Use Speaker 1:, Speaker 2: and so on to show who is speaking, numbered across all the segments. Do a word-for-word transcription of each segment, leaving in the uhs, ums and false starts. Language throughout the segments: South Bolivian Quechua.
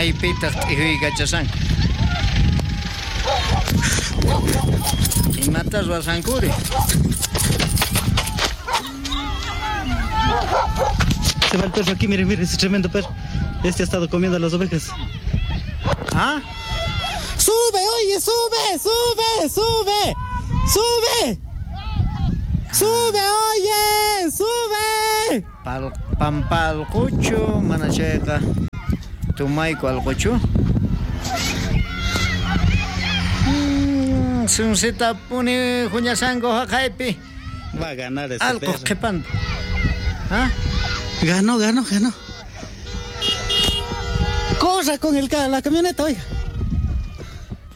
Speaker 1: Maypitaq t'ijuykachashanku? Imata ruwashankuri?
Speaker 2: Se va el perro aquí, miren, miren, ese tremendo perro. Este ha estado comiendo las ovejas.
Speaker 1: ¿Ah?
Speaker 2: ¡Sube, oye, sube, sube, sube! ¡Sube! ¡Sube, oye! ¡Sube!
Speaker 1: Pal, pampalquchu, mana chayqa tumayku alquchu. Mm, sunsitapuni huñasanku haqaypi.
Speaker 2: Va a ganar ese
Speaker 1: Alquq
Speaker 2: perro.
Speaker 1: qhipanta. ¿Ah?
Speaker 2: Ganó, ganó, ganó. Corra con el ca- la camioneta, oiga.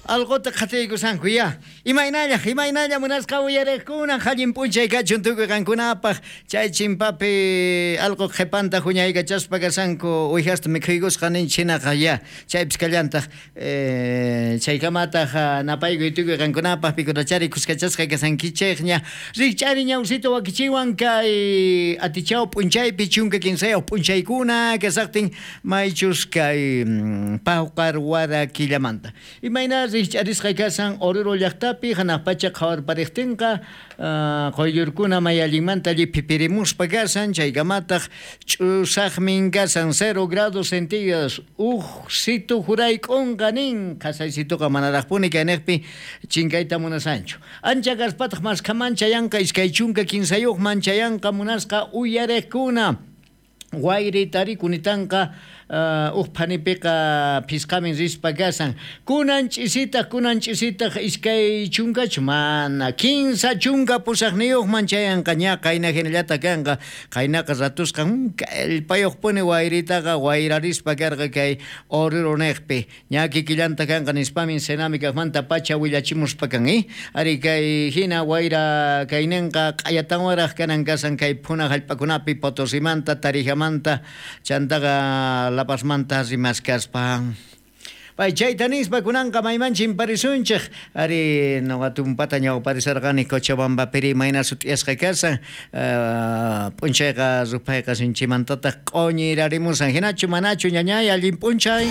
Speaker 1: Alquta qhatiykusanku ya. Imaynalla, imaynalla munasqa uyariqkuna allin p'unchay kachun tukuy qankunapaq. Chay chimpapi alqu qhipanta huñaykachaspa kasanku uwihasta mikhuykusqa ninchik hinaqa ya. Chaypis kallantaq eh, chaykamataq napaykuy tukuy qankunapaq pikunachari kuskachasqa kasankichikña. Rikch'ari ñawsito wakichiwan kay atichaw p'unchaypi chunka kinsayuq p'unchaykuna kasaqtin maychus kay mm, pawqar wara killamanta. Imayna rikch'arisqa kasan Oruro llaqtapi hanaq pacha qhawarpariqtinqa uh, quyllurkuna may allinmanta lliphipirimuspa kasan chaykamataq ch'usaqmin kasan cero grados centígrados uj situ jurayk'unqa nin qhasaysituqa manaraqpuni kayniqpi chinkayta munasanchu. Ancha kaspataq maskhaman chayanqa iskay chunka kinsayuqman chayanqa munasqa uyariqkuna. Wayri tarikunitanqa uh, uj phanipiqa phisqamin rispa kasan. Kunan ch'isitaq, kunan ch'isitaq iskay chunkachu mana kinsa chunka pusaqniyuqman chayanqa ña qayna hinallata kanqa. Qaynaqa ratusqan kallpayuqpuni wayritaqa wayrarispa karqa kay Oruro niqpi. Ña kikillanta kanqa nispamin Senami kaqmanta pacha willachimuspa kan, eh? Ari kay hina wayra kayninqa q'ayatanwaraq kanan kasan kay phuna hallp'akunapi Potosimanta, Tarijamanta, chantaqa La Pazmanta rimaskaspa. Pay chayta nispa kunanqa mayman chimparisunchik. Ari noqa tumpata ñawparisarqani Cochabambapiri mayna sut'iyasqa kasan. Uh, p'unchayqa ruphayqa sinchimantataq q'uñirarimusan. Hinachu manachu ñañay allin p'unchay.